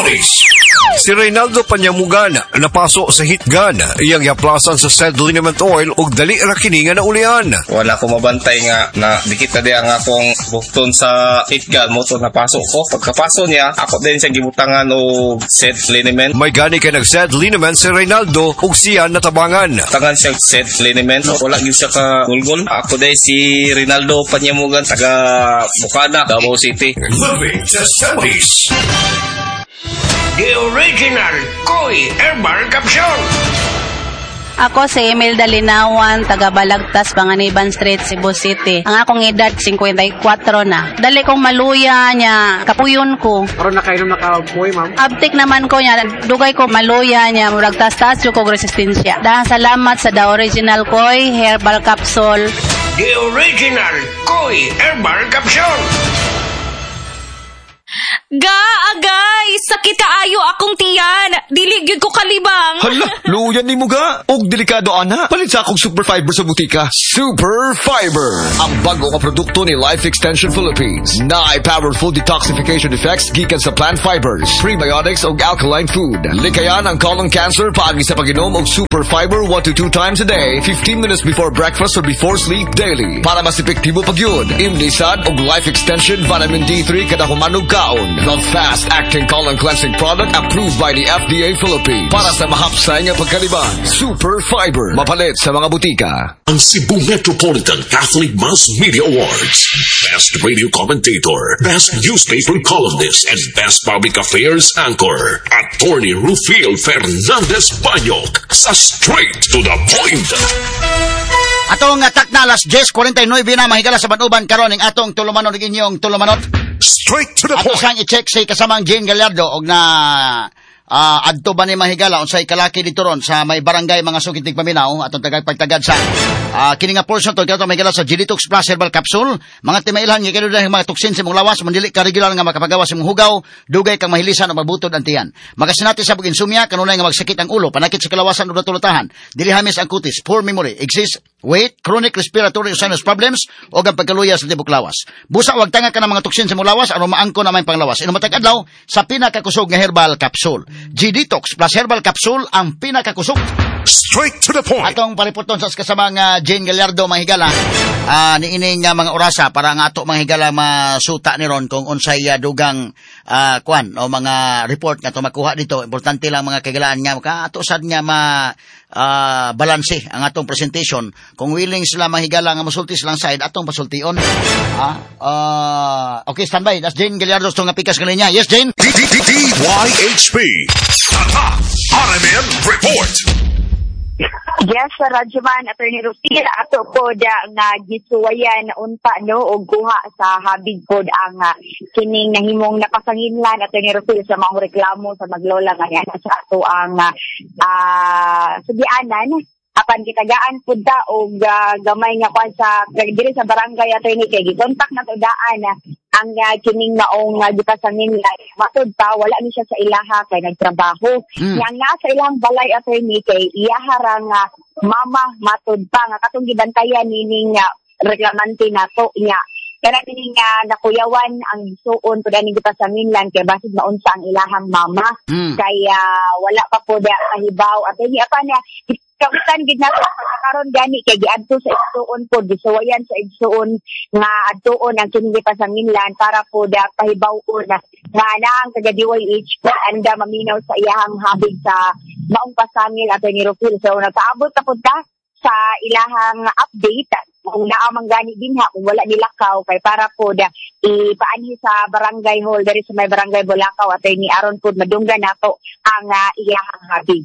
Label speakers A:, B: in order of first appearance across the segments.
A: 70s. Si Reynaldo Panyamugan napaso sa heat gun. Iyang yaplasan sa said liniment oil ug dali ra kini nga naulian.
B: Wala ko mabantay nga na dikit na diya nga akong bukton sa heat gun mo to napaso ko. Pagkapaso niya, ako din siya gibutangan og said liniment.
A: May gani kay nag-said liniment si Reynaldo ug siya natabangan.
B: Tangan siya said liniment. Wala gyud siya ka gulgol. Ako din si Rinaldo Panyamugan taga Bukana, Davao City.
A: Living the 70s.
C: The original Koi Herbal Capsule.
D: Ako si Imelda Linawan, taga Balagtas, Panganiban Street, Cebu City. Ang akong edad, 54 na. Dali kong maluya niya, kapuyon ko.
E: Karon nakainom na ka moy, ma'am.
D: Abtik naman ko niya, dugay ko maluya niya, murag tas-tas ko resistensya. Dahil salamat sa The Original Koi Herbal Capsule.
C: The original Koi Herbal Capsule.
F: Ga, agay, sakit kaayo akong tiyan. Dili gyud ko kalibang.
G: Hala, luyan ni mo ga. Og delikado ana. Palit sa akong Super Fiber sa butika.
A: Super Fiber, ang bago nga produkto ni Life Extension Philippines. Naay powerful detoxification effects gikan sa plant fibers, prebiotics ug alkaline food. Likayan ang colon cancer paagi sa pag-inom og Super Fiber 1 to 2 times a day, 15 minutes before breakfast or before sleep daily. Para mas epektibo pag yun, imnisad og Life Extension Vitamin D3 kada humanog kaon. The fast-acting colon cleansing product approved by the FDA Philippines. Para sa mahapsay nga pagkalibang, Super Fiber. Mapalit sa mga butika.
H: Ang Cebu Metropolitan Catholic Mass Media Awards. Best Radio Commentator, Best Newspaper Columnist, and Best Public Affairs Anchor. Attorney Rufil Fernandez Banyok sa Straight to the Point.
I: Atong takna alas 10:49 na, mahigala sa banuban karon ning atong tulumanon ug inyong tulumanon.
H: Straight to the
I: Ato
H: point.
I: sang i-check si kasamang Jane Gallardo og na adto ba ni, mahigala, unsay kalaki dito ron sa may barangay, mga sukit paminaw atong tagag pagtagad sa kini nga portion to kato, mahigala, sa Genetox Plus Herbal Capsule. Mga timailhan nga kanu mga toksin sa imong lawas, mandili ka regular nga makapagawa sa imong hugaw, dugay kang mahilisan o mabutod ang tiyan, makasinati sa insomnia, kanunay nga magsakit ang ulo, panakit sa kalawasan o natulatahan, dili hamis ang kutis, poor memory, excess weight, chronic respiratory sinus problems o ang pagkaluya sa tibok lawas. Busa wag tanga ka ng mga toksin sa imong lawas aron maangko na may panglawas. Inom matag adlaw sa pinakakusog nga herbal capsule. G-Detox Plus Herbal Capsule, ang pinakakusog.
H: Straight to the point.
I: Atong pariputon sa kasamang Jane Gallardo, mahigala, niining mga orasa para nga ato, mahigala, masuta ni ron kung unsay dugang kwan o mga report nga ato makuha dito. Importante lang, mga kagalaan, nga ka ato sad nga ma balanse ang atong presentation. Kung willing sila, mahigala, nga musulti silang side, atong pasultion. Okay, standby. That's Jane Gallardo sa nga pikas kaninya. Yes, Jane.
H: DYHP. Tatak RMN Report.
J: Yes, sa Radyoman, Attorney Rufil, ato po da nga gisuwayan unta no og kuha sa habig pod ang kining nahimong napasanginlan, Attorney Rufil, sa maong reklamo sa maglola nga niya sa ato ang sugianan, apan gitagaan pud ta og gamay nga kwan sa diri sa barangay, attorney, kay gikontak na to daan ang kining maong gipasanginlan. Matud pa wala ni siya sa ilaha kay nagtrabaho. Yang nasa ilang balay, attorney, kay iyaha ra nga mama, matud pa nga katong gibantayan nining reklamante nato nya. Kana kining nakuyawan ang suon pud ani gipasanginlan kay basig maunsa ang ilahang mama. Kaya wala pa po da kahibaw, attorney, apan kawitan gid nato pagkakaron gani kay giadto sa igsuon po, gisuwayan sa igsuon nga adtuon ang kining gipasanginlan para po da pahibaw-on na nga na ang taga DYH anda maminaw sa iyahang habig sa maong pasangil, Attorney Rufil. So nagpaabot na pud ta sa ilahang update kung naa man gani dinha, kung wala nilakaw, kay para po da ipaanhi sa barangay hall diri sa may Barangay Bulacau, attorney, aron pud madunggan nato ang iyahang habig.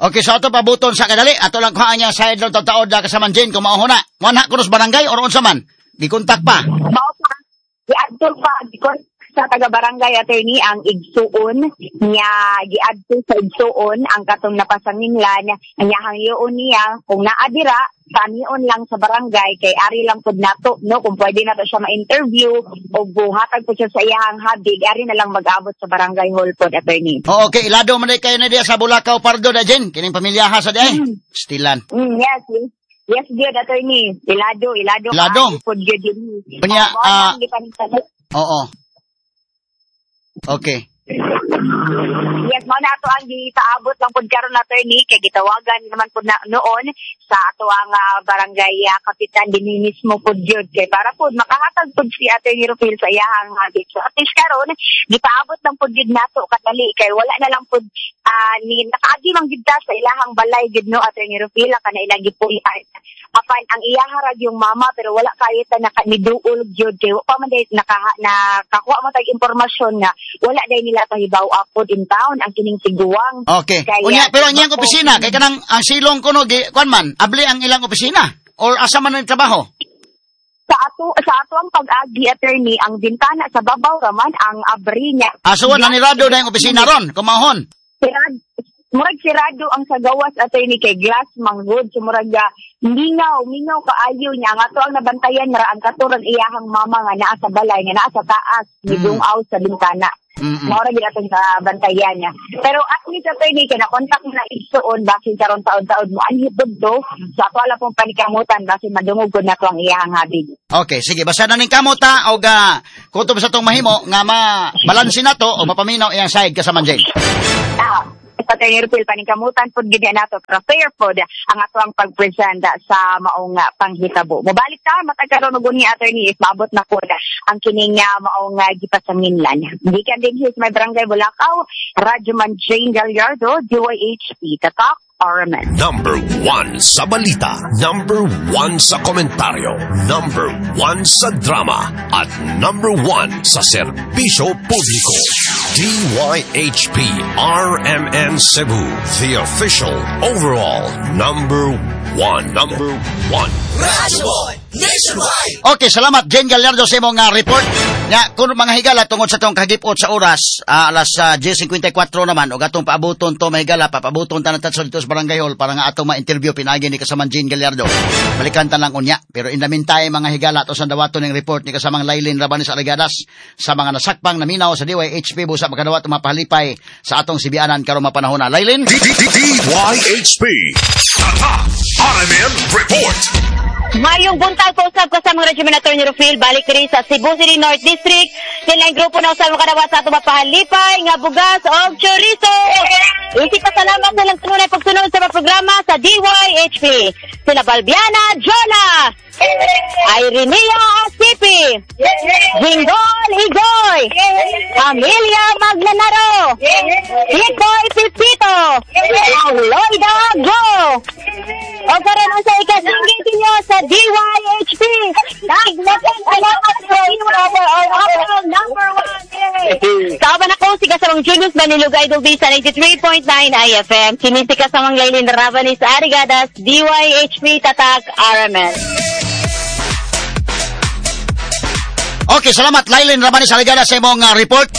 I: Okay, so ato pabuton sa kadali. Ato lang kuhaan niya side lang taod na kasaman Jane kung mao na. Wanha kunos barangay or unsa man? Gikontak pa.
J: Mao pa giadto pa gikontak sa taga barangay, attorney, ang igsuon niya. Giadto sa igsuon ang katong napasanginlan ang iyahang yuon niya kung naa dira, kanion lang sa barangay kay ari lang pud nato no kung pwede nato siya ma-interview o buhatag pud siya sa iyahang habig, ari na lang mag-abot sa barangay hall pod, attorney.
I: Oo, okay, ilado man kayo na diya sa Bulacau Pardo da, Jane. Kining pamilyaha sa diay. Stilan.
J: Yes. Yes, good, attorney. Ilado, ilado.
I: Ilado.
J: Kaayo pod gyud yun.
I: Unya,
J: Oo, ang gipanintalan.
I: Oo. Okay.
J: Yes, mao na ato ang gipaabot lang pud karon, attorney, kay gitawagan naman pud na noon sa ato ang barangay kapitan dinhi mismo pud gyud kay para pud makahatag pud si Attorney Rufil sa iyahang habit. So at least karon gipaabot lang pud gyud nato kadali kay wala na lang pud ni nakaagi man gyud ta sa ilahang balay gyud, no, Attorney Rufil, kana ilang gipuy-an. Apan ang iyaha ra yung mama, pero wala kayo ta naka niduol gyud kay wa pa man day nakakuha mo tag impormasyon nga wala day nila pahibaw pod in town ang kining tiguang.
I: Okay.
J: Kaya,
I: Unya, pero ang iyang opisina kay kanang ang silong kuno gi kuan man, abli ang ilang opisina or asa man ang trabaho?
J: Sa ato ang pag-agi, attorney, ang bintana sa babaw raman ang abri niya.
I: Ah, so nanirado na yung opisina ron, kumahon.
J: Sirad, murag sirado ang sa gawas, attorney, kay glass manggod, so murag mingaw mingaw kaayo niya. Ang ato ang nabantayan ra ang katurang iyahang mama nga naa sa balay, nga naa sa taas, midungaw sa bintana. Mao ra gid atong bantayan niya. Pero at least, attorney, kay na-contact na igsuon, basin karon taon-taon mo anhi pud to. So ato ala pong panikamutan, basin madungog gud nato ang iyahang habig.
I: Okay, sige, basta na ning kamota og kutob sa tong mahimo nga ma balanse na to o mapaminaw iyang side kasama Jane.
J: Ah, Attorney Rupil, paningkamutan pod gid nato, pero fair pod ang ato ang pag-present sa maong panghitabo. Mobalik ta matag karon og ni attorney if maabot na pod ang kining maong gipasanginlan. Gikan din sa may barangay Bulacau, Radyo Man Jane Gallardo, DYHP, Tatak RMN.
H: Number 1 sa balita, number 1 sa komentaryo, number 1 sa drama, at number 1 sa serbisyo publiko. DYHP RMN Cebu, the official overall number 1. Number 1.
I: Okay, salamat Jane Gallardo sa imong report. Nya kun mga higala, tungod sa tong kagipot sa oras, alas 10:54 naman ug atong paabuton to, mga higala, papabuton ta na dito sa Barangay Hall para nga atong ma-interview pinaagi ni kasamang Jane Gallardo. Balikan ta lang unya. Pero in the meantime, mga higala, ato sang dawaton ning report ni kasamang Lailin Rabanis Arigadas sa mga nasakpang naminaw sa DYHP, busa makadawat mapahalipay sa atong sibianan karong mapanahon na. Lailin?
H: DYHP. Tatak RMN Report.
K: Mayong buntag po usab kasama Regimen Attorney Rufil, balik diri sa Cebu City North District. Sila ang grupo na usab makadawat sa ato mapahalipay nga bugas og chorizo. Isip pasalamat sa lang tunay pagsunod sa mga programa sa DYHP. Sila Balbiana Jola, Irenea Asipi, Jinggol Igoy, Amelia Maglanaro, Tikoy Pipito, Loida Go. O karon unsa ikasingit ninyo sa DYHP? Daghan salamat sa overall number 1. Kauban ako si kasamang Julius Manilog Idol B sa 93.9 IFM. Kini si kasamang Lailin Ravanis Arigadas, DYHP Tatak RMN.
I: Okay, salamat Lailin Ravanis Arigadas sa imong report.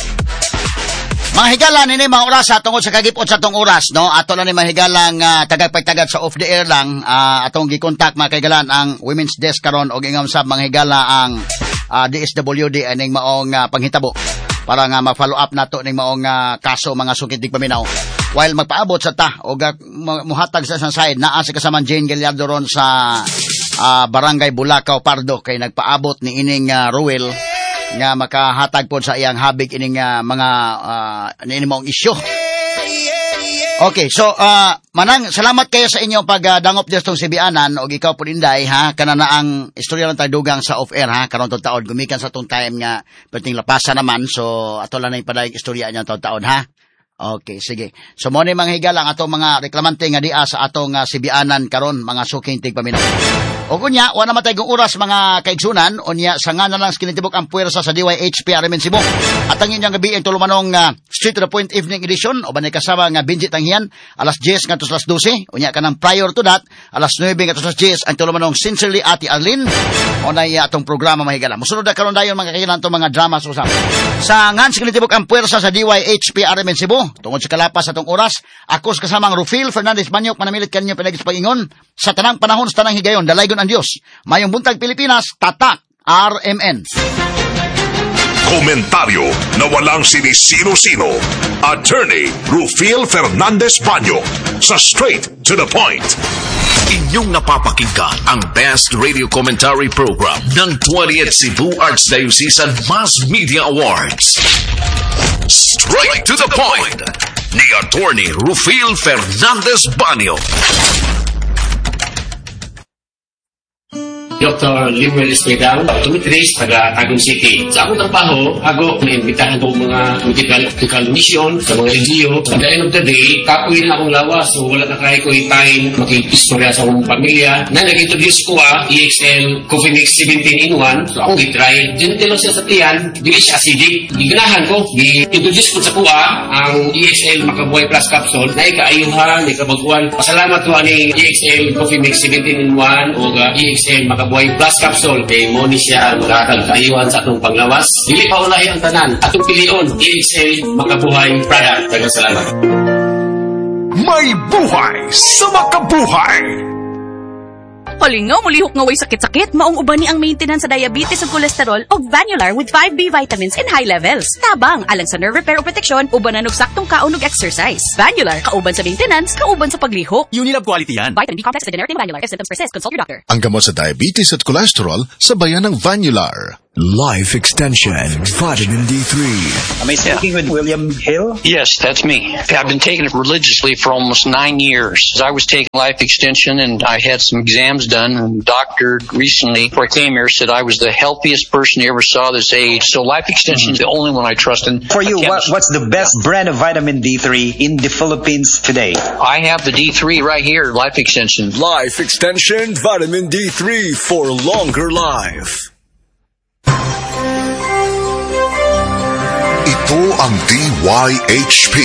I: Mga higala, nini mga orasa tungod sa kagipot sa tong oras, no? Ato lang ni mga higalang tagagpagtagad sa off the air lang, atong gikontak mga kahigalan ang Women's Desk karon og ingam sab mga higala ang DSWD aning maong panghitabo para nga ma-follow up nato ning maong kaso, mga sukit paminaw. While magpaabot sa ta og muhatag sa isang side naa si kasamang Jane Gallardo ron sa Barangay Bulacau Pardo kay nagpaabot ni ining Ruel nga makahatag pod sa iyang habig ining mga niini maong isyu. Okay, so manang salamat kayo sa inyong pagdangop dito tong sibianan og ikaw pud Inday ha, kana na ang istorya lang dugang sa off air ha, karon tong taon gumikan sa tong time nga perting lapasa naman, so ato lang na ipadayong istorya niya tong taon ha. Okay, sige. So mo ni mga higala ang atong mga reklamante nga dia sa atong sibianan karon, mga suking tigpaminaw. O unya, wala matay kong oras mga kaigsunan, unya sa nga na lang kinitibok ang puwersa sa DYHP RMN Cebu. At ang inyong gabi ang tulumanong Straight to the Point Evening Edition, o ba kasama nga Benji Tanghian, alas 10 ngadto sa alas 12, unya kanang prior to that, alas 9 ngadto sa alas 10, ang tulumanong Sincerely Ate Arlene, o na atong programa mga higala. Musunod na karon dayon mga kailan itong mga drama sa usap. Sa ngan sa kinitibok ang puwersa sa DYHP RMN Cebu, tungod sa kalapas atong oras, ako sa kasamang Rufil Fernandez Manyok, manamilit kanyo pinagis pag-ingon, sa tanang panahon sa tanang higayon, dalaygon ang Diyos. Mayong buntag Pilipinas, Tatak RMN.
H: Komentaryo na walang sinisino-sino. Attorney Rufil Fernandez Banyo sa Straight to the Point. Inyong napapakinggan ang Best Radio Commentary Program ng 20th Cebu Archdiocesan Mass Media Awards. Straight to the point ni Attorney Rufil Fernandez Banyo.
L: Dr. Lemuel Esquedal, optometrist, taga Tagum City. Sa akong trabaho, ako naimbitahan ko mga medical mission sa mga NGO. At the end of the day, kapoy na akong lawas, so wala na kaya ko time makikistorya sa akong pamilya. Na nag-introduce ko EXL Coffee Mix 17-in-1. So akong gitry. Gentle lang siya sa tiyan, dili siya acidic. Giganahan ko, gi-introduce ko sa kuha ang EXL Makabuhay Plus Capsule na ikaayuhan, ikabaguan. Pasalamat ko ani EXL Coffee Mix 17-in-1 o EXL Makabuhay Plus Capsule. Kay mo ni siya maghatag kaayuhan sa atong panglawas. Dili pa ulahi ang tanan. Atong pilion, EXL Makabuhay Product. Daghang salamat.
H: May buhay sa makabuhay.
F: Palingaw, mulihok nga way sakit-sakit. Maong uban ni ang maintenance sa diabetes ug kolesterol og Vanular with 5B vitamins in high levels. Tabang, alang sa nerve repair o protection, ubanan og saktong kaon ug exercise. Vanular, kauban sa maintenance, kauban sa paglihok.
M: Unilab quality yan.
F: Vitamin B complex is a generic name of Vanular. If symptoms persist, consult your doctor.
N: Ang gamot sa diabetes at cholesterol, sabayan ng Vanular.
A: Life Extension Vitamin D3.
O: Am I speaking with William Hill?
P: Yes, that's me. I've been taking it religiously for almost 9 years. I was taking Life Extension and I had some exams done, and the doctor recently, before I came here, said I was the healthiest person he ever saw this age. So Life Extension is the only one I trust. And
O: for you, what's the best brand of vitamin D3 in the Philippines today?
P: I have the D3 right here, Life Extension.
A: Life Extension Vitamin D3 for longer life.
H: Ito ang DYHP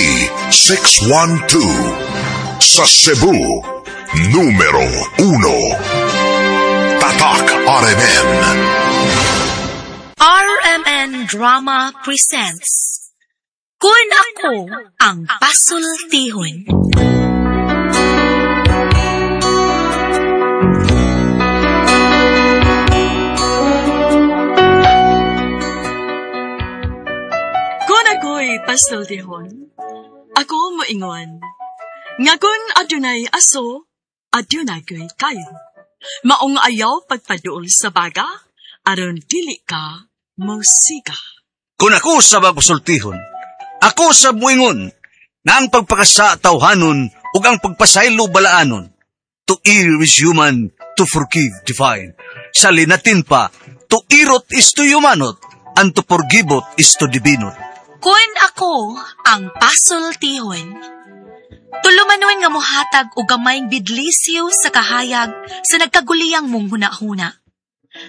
H: 612 sa Cebu, numero 1. Tatak RMN.
Q: RMN Drama presents Kun Ako Ang Pasultihon.
R: Kun ako'y pasultihon, ako moingon, nga kun adunay aso, adunay ko'y kayo. Maong ayaw pagpaduol sa baga, aron dili ka mosiga.
S: Kun ako sa pasultihon, ako sa moingon, nga ang pagpakasa tawhanon ug ang pagpasaylo balaanon. To err is human, to forgive divine. Sa linatin pa, to irot is to humanot, and to forgivot is to divinot.
Q: Kun ako ang pasultihon, tulumanon nga mohatag og gamayng bidlisyo sa kahayag sa nagkaguliyang mong hunahuna.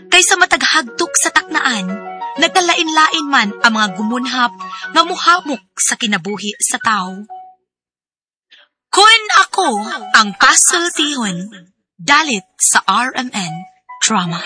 Q: Kaysa mataghagtok sa taknaan, nagkalain-lain man ang mga gumunhap nga muhamok sa kinabuhi sa tao. Kun ako ang pasultihon, dalit sa RMN Drama.